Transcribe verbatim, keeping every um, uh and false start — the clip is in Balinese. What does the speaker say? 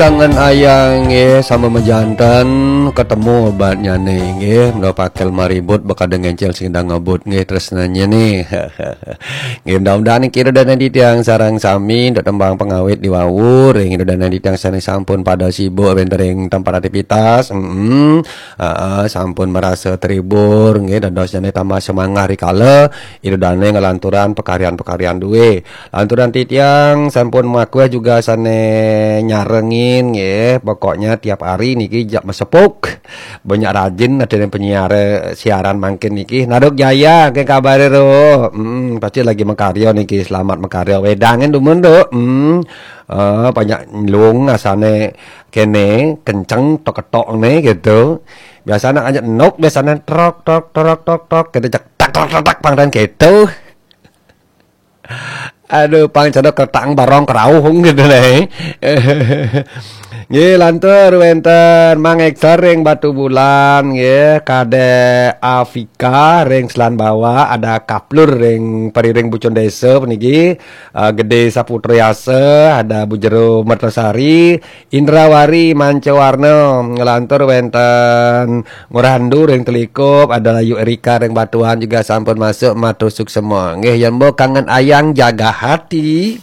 Kangen ayang nggih sama mejanten, ketemu obatnya nih nggih, mula pakel maribut bakal ngencel sing ngebut nggih, tresnanya nih. Nggih, mudah-mudahan niki ida dané titiang sareng sami ndak tembang pengawit di wau, ring ida dané titiang sané sampun pada sibuk wénten ring tempat aktivitas. Heeh. Heeh, sampun merasa terhibur nggih, dados jane tambah semangat rikala ida dané ngelanturan pekaryan-pekaryan duwe. Lanturan titiang sampun makueh juga sané nyarengin nggih. Pokoknya tiap hari niki jak mesepuk. Banyak rajin ada yang penyiar, eh, siaran mangkin niki. Naruk Jaya, ke kabare ro. Hmm, pasti lagi makarya niki. Selamat makarya. Wedangen dumun, Duk. Hmm. Eh, banyak nyelung asane kene kenceng tok-tok ne gitu. Biasanya aja nok, biasanya trok trok trok trok trok gitu, cek tak tak tak tak pang dan gitu. Aduh, pang cedok kertang barong kerauhung gitu deh. Nggih, lantur wénten Mang Ektor ring Batu Bulan nggih, Kadek Afika ring Selan Bawah, ada Kaplur ring Periring Bucun Desa puniki, eh, Gede Saputra Yasa, ada Bu Jero Mertasari, Indrawari Mancawarna, ngelantur wénten Ngurandu ring Telikup, ada Layu Erika ring Batuan juga sampun masuk, matur suksema. Nggih, yen mbok kangen ayang jaga hati.